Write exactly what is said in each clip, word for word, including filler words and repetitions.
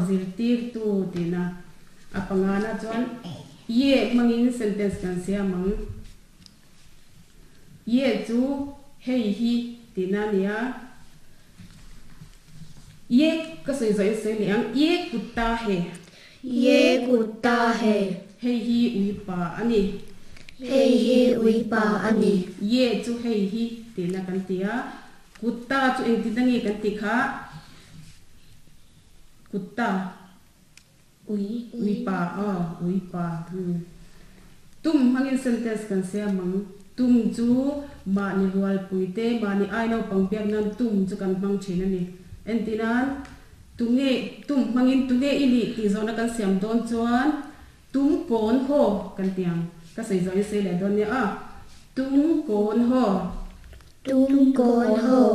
Zirtirtu tina a pangana chuan ye hmangin sentence kan siam ang. Ye chu hei hi tina nia. Ye ka sawi zawh in sawi leh ang. Ye kutta he. Ye kutta he. Hei hi uipa a ni. Hei hi uipa a ni. Ye chu hei hi tina kan ti a. Kutta chu engtin nge kan ti kha? Kutta. Ui. Uipa aw uipa. Hmm. Tum hmangin sentence kan siam ang. Tum chu mahni rual puite mahni ai naupang biak nan tum chu kan hmang thin a ni. Entinan tunge tum hmangin tunge i nih tih zawhna kan siam dawn chuan tum kawn haw kan ti ang. Ka sawi zawh in sawi leh dawn nia a. Tum kawn haw. Tum kawn haw.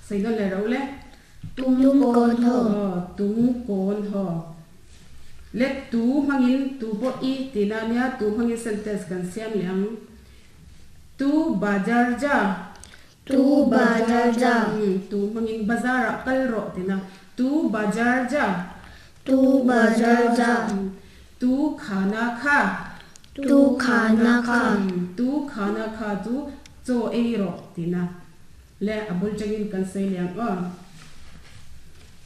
Sawi dawn leh ro le. Tum kawn haw. Aw tum kawn haw. Le tu hmangin tu pawh i tina nia tu hmangin sentence kan siam leh ang. Tu bazar ja. Tu bazar ja. Hmm, tu hmangin bazar ah kal rawh tina. Tu bazar ja. Tu bazar ja. Hmm, tu khana kha. Tu khana kha. Hmm, tu khana kha chu chaw ei rawh tina. Le a bul changin kan sawi leh ang aw.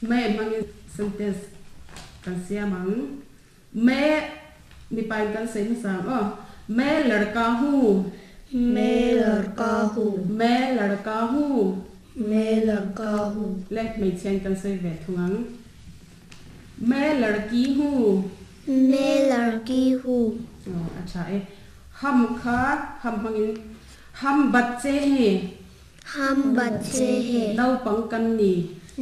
Me hmangin sentence kan siam ang. Me mipa in kan sawi hmasa ang aw. Me ladka hu. Me ladka hu. Me ladka hu. Me ladka hu. Le hmeichhia in kan sawi ve thung ang. Me ladki hu. Me ladki hu. Aw acha e. Ham kha ham hmangin ham bacche he. Ham bacche he. Naupang kan ni.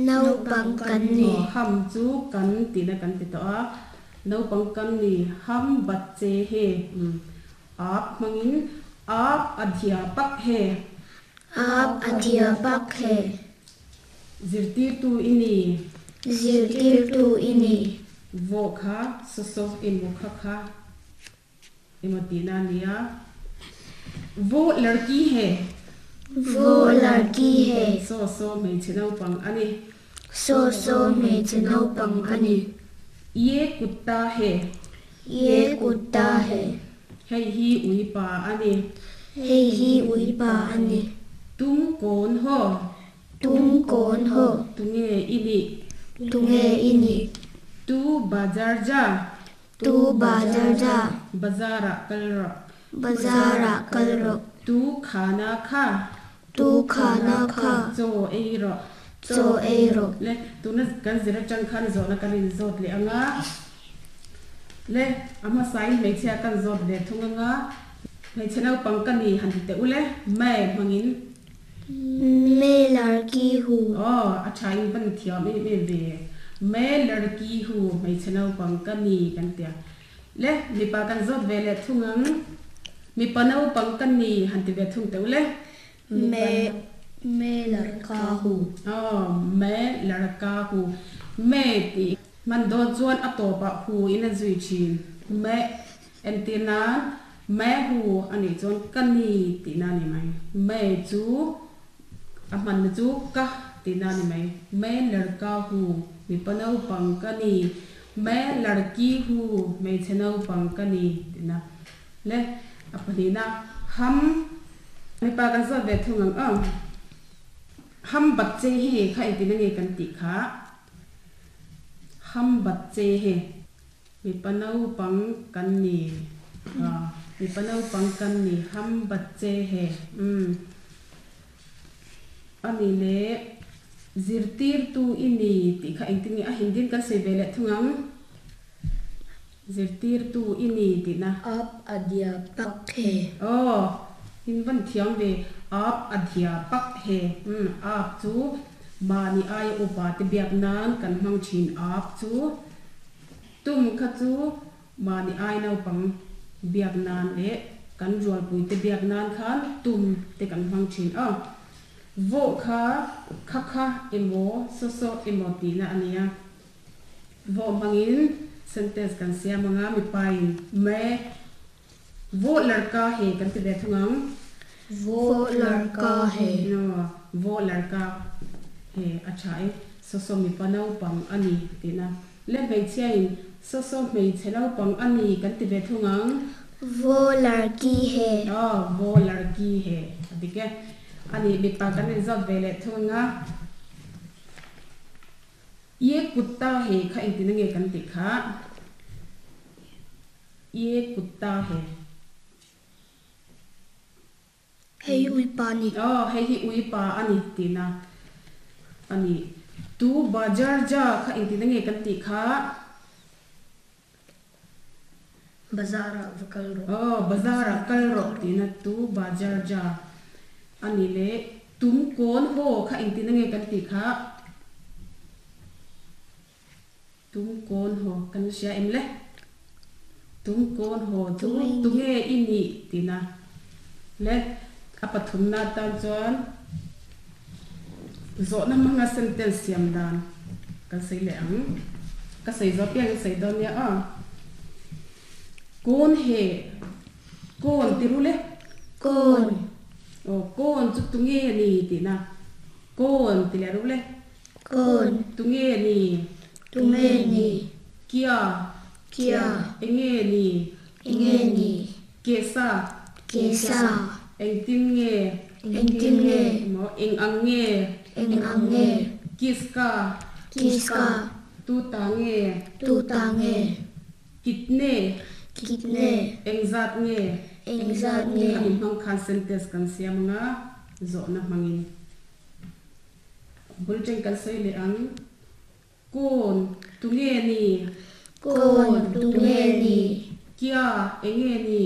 Naupang kan ni. Aw ham chu kan tina kan ti tawh a. Naupang kan ni. Ham bacche he. Hmm. Aap hmangin aap adhyapak he. Aap adhyapak he. Zirtirtu i ni. Zirtirtu i ni. Vo kha so so emaw kha kha emaw tina nia. Vo ladki he. Vo ladki he. So so hmeichhe naupang a ni. So so hmeichhe naupang a ni. Ye kutta he. Ye kutta he. Hei hi uipa a ni. Hei hi uipa a ni. Tum kawn haw. Tum kawn haw. Tunge i nih. Tunge i nih. Tu bazar ja. Tu bazar ja. Bazar ah kal rawh. Bazar ah kal rawh. Tu khana kha. Tu khana kha. Chaw ei rawh. Chaw ei rawh. Le tuna kan zir atang khan zawhna kan in zawt leh anga. Le a hmasa in hmeichhia kan zawt ve thung anga. Hmeichhe naupang ka ni han ti teh u le. Me hmangin. Me ladki hu. Aw a tha in van thiam em em ve. Me ladki hu hmeichhe naupang ka ni kan tia. Le mipa kan zawt ve leh thung ang. Mipa naupang ka ni han ti ve thung teh u le. Me me ladka hu. Aw me ladka hu. Me ti man dawn chuan a tawpah hu in a zui thin. Me entir nan me hu anih chuan ka ni tihna ni mai. Me chu a hmanna chu ka tihna ni mai. Me ladka hu mipa naupang ka ni. Me ladki hu hmeichhe naupang ka ni tihna. Le a pahnihna ham mipa kan zawt ve thung ang aw. Ham bacche he kha engtin nge kan tih kha. Ham bacche he. Mipa naupang kan ni. Ah, mipa naupang kan ni. Ham bacche he. Hmm. Ani le zirtirtu i ni tih kha engtin nge a hindin kan sawi ve leh thung ang. Zirtirtu i ni tihna. Aap adhyapak he. Aw in van thiam ve. Aap adhyapak he. Hmm, aap chu mahni ai upa te biak nan kan hmang thin aap chu. Tum kha chu mahni ai naupang biak nan leh kan rual pui te biak nan khan tum te kan hmang thin aw. Vo kha kha kha emaw so so emaw tina ania. Vo hmangin sentence kan siam anga mipa in me vo ladka he kan ti ve thung ang. Vo ladka he. No, vo ladka he a tha e. So so mipa naupang a ni tina. Le hmeichhia in saw saw hmeichhe naupang ani kan ti ve thung ang. वो लड़की है. Aw, wo larki he a dik e. Ani mipa kan inzawt ve leh thung anga. Ye kutta he kha engtin nge kan tih kha? Ye kutta he. Hei ui pa ni. Aw, hei hi ui pa ani tihna ani. Tu bajar ja kha engtin nge kan tih kha? Bazar ah va kal rawh. Aw, bazar ah kal rawh tihna tu bajar ja ani le tum kawn haw kha engtin nge kan tih kha? Tum kawn haw kan hria em le? Tum kawn haw chu tunge i nih tihna le a pathumna tan chuan zawhna hmanga sentence siam dan kan sawi leh ang. Ka sawi zawh piang in sawi dawn nia aw. Kawn he kawn ti ru le? Kawn. Aw, kawn chu tunge ni tihna. Kawn ti leh ru le? Kawn. Tunge ni? Tunge ni? Kia. Kia. Enge ni? Enge ni? Kesa. Kesa. Engtin nge? Engtin nge? Emaw eng ang nge? Eng ang nge? Kiska. Kiska. Tu ta nge? Tu ta nge? Kitne. Kitne. Eng zat nge? Eng zat nge? Khami hmang khan sentence kan siam anga zawhna hmangin bul teng kan sawi leh ang. Kawn tunge ni? Kawn tunge ni? Kia enge ni?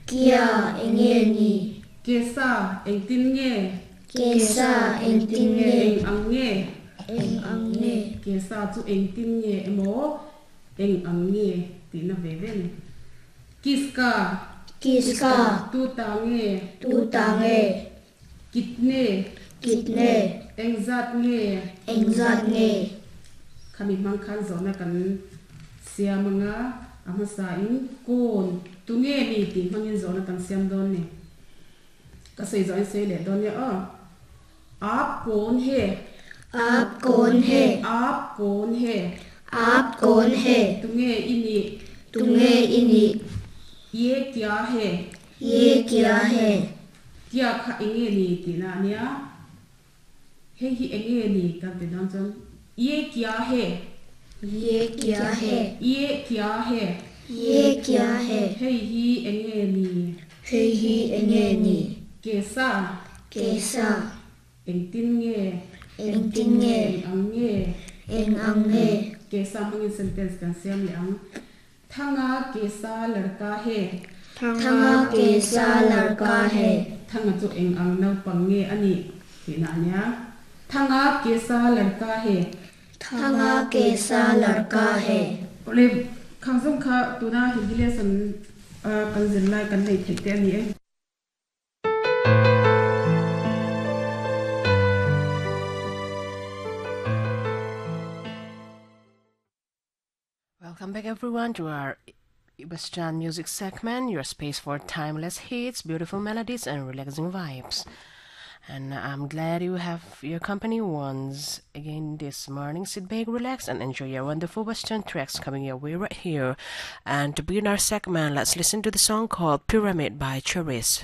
Kia enge ni? Kesa engtin nge? Kesa engtin nge? Eng ang nge? Eng ang nge? Kesa chu engtin nge emaw eng ang nge tihna ve ve ni. Kiska. Kiska. Tu ta nge? Tu ta nge? Kitne. Kitne. Eng zat nge? Eng zat nge? Khami hmang khan zawhna kan siam anga a hmasa in kawn tunge ni tih hmangin zawhna kan siam dawn ni. Ka sawi zawh in sawi leh dawn nia aw. Aap kawn he? Aap kawn he? Aap kawn he? Aap kawn he? Tunge i nih? Tunge i nih? Ye kya he? Ye kya he? Kya kha enge ni tihna ania. Hei hi enge ni kan ti dawn chuan ye kya he? Ye kya he? Ye kya he? Ye kya he? Hei hi enge ni? Hei hi enge ni? Kesa. Kesa. Engtin nge? Engtin nge? Eng ang nge? Eng ang nge? Kesa hmangin sentence kan siam leh ang. Thanga kesa ladka he? Thanga kesa ladka he? Thanga chu eng ang naupang nge ani tihna ania. Thanga kesa ladka he? Thanga kesa ladka he? Ole khangzawng kha tuna Hindi lesson kan zir lai kan nei theih te ani e. Welcome back everyone to our Western music segment, your space for timeless hits, beautiful melodies and relaxing vibes. And I'm glad you have your company once again this morning. Sit back, relax and enjoy your wonderful Western tracks coming your way right here. And to begin our segment, let's listen to the song called Pyramid by Cherish.